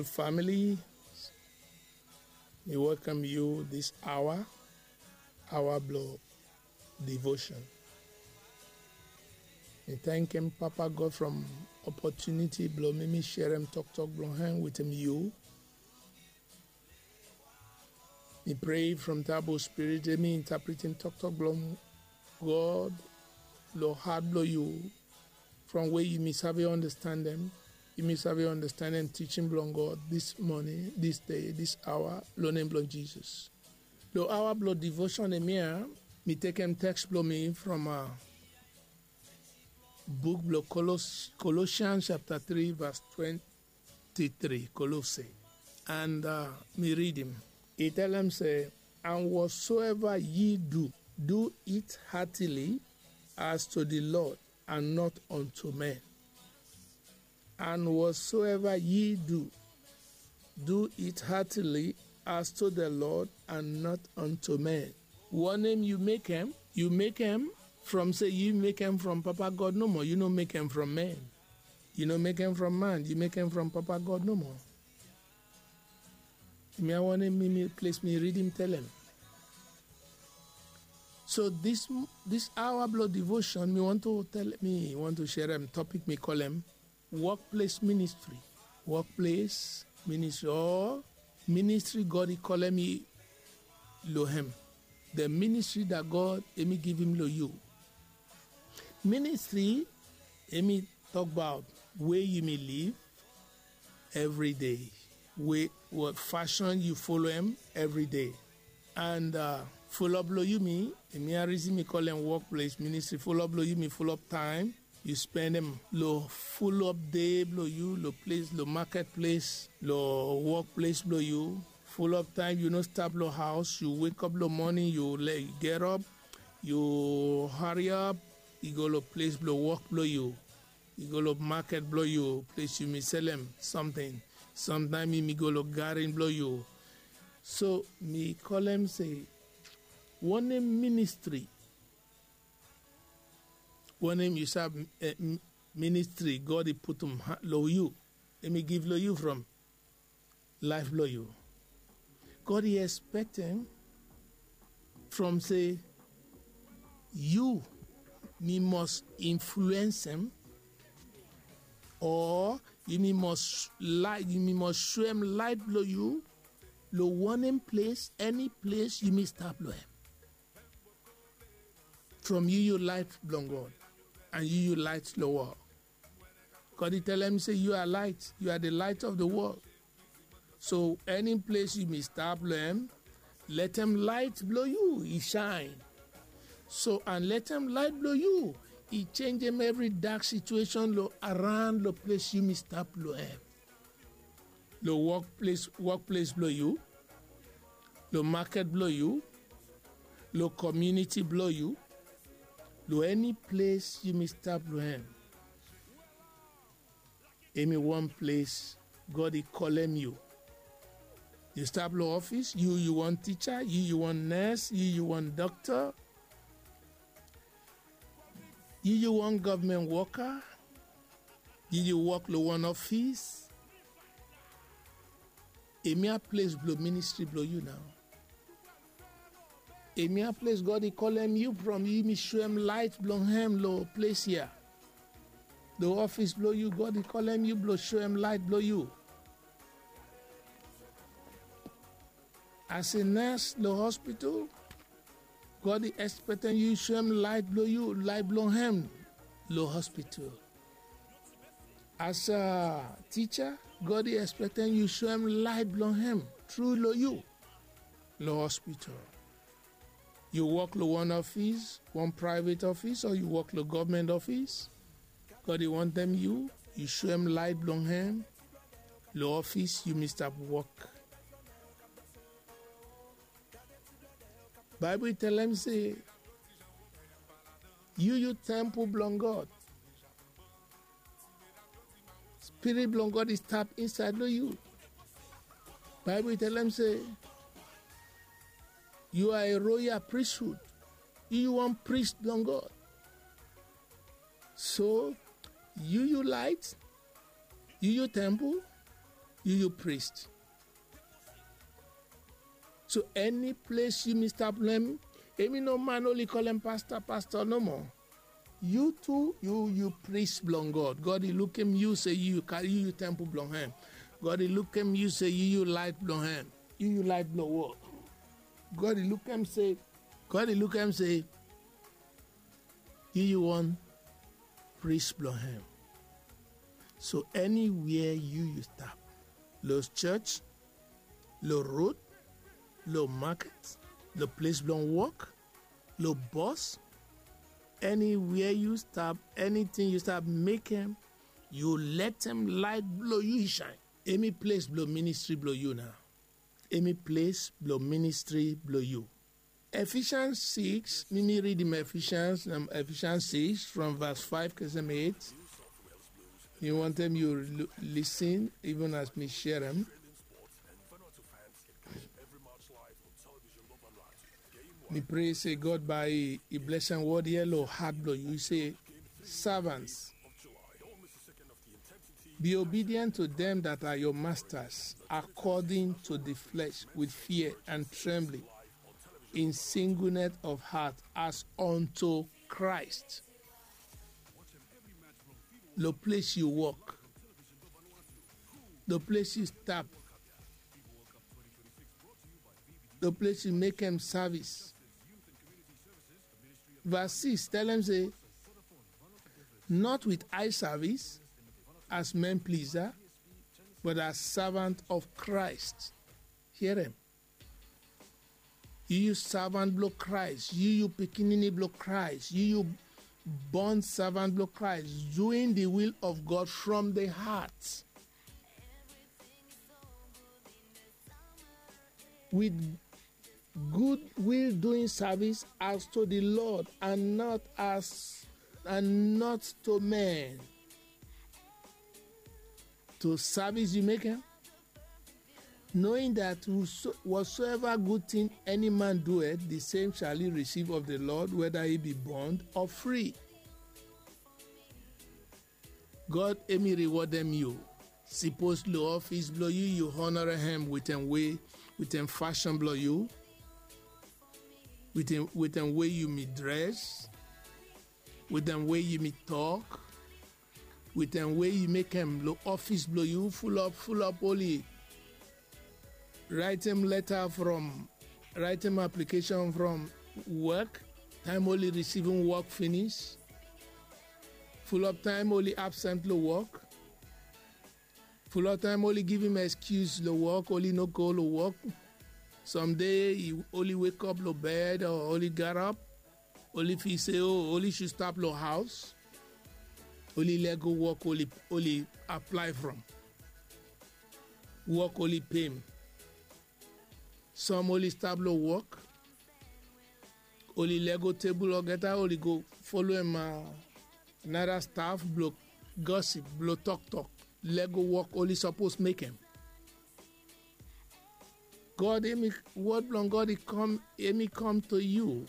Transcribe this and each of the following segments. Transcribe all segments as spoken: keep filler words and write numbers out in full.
Famili, mi welkam yu dis aoa, aoa blong devotion. Mi tankem Papa God from opotuniti blong mi mi serem toktok blong hem wetem yu. Mi prea from tabo spirit, yu mi intapretem toktok blong God long hat blong yu, from we yu mi save ondastandem, yu mi save ondastandem tijin blong God dis moning, dis dei, dis aoa, long nem blong Jisas. Long aoa blong devotion hemia, mi tekem teks blong mi from buk blong Kolosians japta tri vas twenti tri, Kolose. And mi ridim. I talem se, and whatsoever ye do, do it heartily as to the Lord and not unto men. And whatsoever ye do, do it heartily as to the Lord and not unto men. Wanem yu mekem, yu mekem from se yu mekem from Papa God nomo, yu no mekem from men. Yu no mekem from man, yu mekem from Papa God nomo. Hemia wanem mi, mi ples mi ridim talem. So dis, dis aoa blong devotion, mi wani to talem, mi wani to serem topik mi kolem wokples ministri. Wokples ministri o ministri God i kolem yu long hem. The ministri dat God hemi givim long yu. Ministri hemi tokbaot we yu mi liv evri dei, we, we fasin yu folem evri dei. And fulop long yu mi, hemia risin mi kolem wokples ministri, fulop long yu mi, fulop taem yu spendem long fulop dei blong yu long ples, long maket ples, long wokples blong yu. Fulop taem yu no stap long haos, yu wekap long moning, yu gerop, yu hariap, yu go long ples blong wok blong yu. Yu go long maket blong yu, ples yu mi selem samting. Samtaem yu mi go long garen blong yu. So mi kolem se, wanem ministri, wanem yu save, ministri God i putum long yu, hemi giv long yu from laef blong yu. God i espektem from se yu mi mos influensem, o yu mi mos laet, yu mi mos soem laet blong yu long wanem ples, eni ples yu mi stap long hem. From yu yu laet blong God, and yu yu laet long wol. God i talem se, you are light, you are the light of the world. So eni ples yu mi stap long hem, letem laet blong yu i saen. So and letem laet blong yu i jenjem evri dak situesen long araon long ples yu mi stap long hem. Long wokples, wokples blong yu, long maket blong yu, long komuniti blong yu, long eni ples yu mi stap long hem. Hemi wan ples God i kolem yu. Yu stap long ofis, yu yu wan tija, yu yu wan nes, yu yu wan dokta, yu yu wan gavman woka, yu yu wok long wan ofis. Hemia ples blong ministri blong yu nao. Hemia ples God i kolem yu from yu mi soem laet blong hem long ples ya. Long ofis blong yu, God i kolem yu blong soem laet blong yu. As a nurse long hospital, God i espektem yu soem laet blong yu, laet blong hem long hospital. As a tija, God i espektem yu soem laet blong hem tru long yu long hospital. Yu wok long wan ofis, wan praevet ofis, o yu wok long gavman ofis, God i wantem yu, yu soem laet blong hem long ofis yu mi stap wok. Baebol i talem se, yu yu tempol blong God. Spirit blong God i stap insaed long yu. Baebol i talem se, you are a royal priesthood. Yu yu wan pris blong God. So yu yu laet, yu yu tempol, Yu yu priest. So eni ples yumi stap long hem, emi no man oli kolem pasta pasta nomo. Yu tu yu yu priest blong god god i lukem yu se yu yu tempel blong hem. God i lukem yu se yu yu lait blong hem. Yu yu lait blong wol. God i lukem se god i lukem se yu yu wan priest blong hem. So eniwia yu yu stap, lo church, lo road, lo market, lo ples blong wok, lo bos, eniwia yu stap, eniting yu stap mekem, yu letem lait blo yu i shain. Emi ples blo ministri blo yu nao. Emi ples blo ministri blo yu. Efisians six, mi mi ridim efisians na efisians six from vas five kesem eight. Mi wantem yu lisin even as mi sherem. Mi pray se god bai i blesem wod yelo hat blo yu se, servants, be obedient to them that are your masters, according to the flesh, with fear and trembling, in singleness of heart, as unto Christ. Lo ples yu wok, lo ples yu stap, lo ples yu mekem savis. Vas six telem se, not with eye service, as men pleaser, but as servant of Christ. Hear him. Yu yu servant blo Christ, yu yu pikinini blo Christ, yu yu bond servant blo Christ, doing the will of God from the heart. With good will doing service as to the Lord and not as and not to men. To service you make him, knowing that whatsoever good thing any man doeth, the same shall he receive of the Lord, whether he be bond or free. God emi rewardem yu. Sipos lo ofis blo yu yu honore hem wit en wei, wit en fashon blo yu, wit en wei yu mi dres, wit en wei yu mi tok, wit en wei yu mekem lo ofis blo yu. Fulop fulop oli raitem leta from, raitem aplikeshon from wok, taem oli risivim wok finis. Fulop taem oli absent lo wok. Fulop taem oli givim eskius lo wok, oli no go lo wok. Samde oli wekop lo bed o oli garap, oli fil se o oli sud stap lo haos. Oli lego wok oli aplae from. Wok oli pem. Som oli stap lo wok, oli lego tebul olgeta, oli go foloem nara staf blo gosip, blo toktok, lego wok oli sapos mekem. God emi, wod blong God emi kom to yu.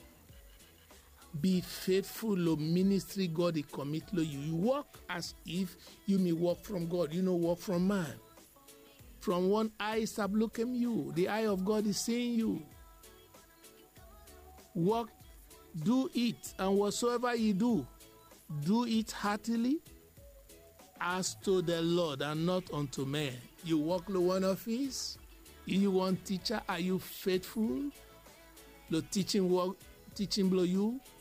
Bi fetful lo ministri God i komit lo yu. Yu wok as if yumi wok from God, yu no wok from man. From one eye stap lukem yu, the eye of God is seeing you. Work, do it, and whatsoever you do, do it heartily, as to the Lord and not unto men. Yu wok lo one office, yu wan teacher, are you faithful lo teaching work, teaching blo yu?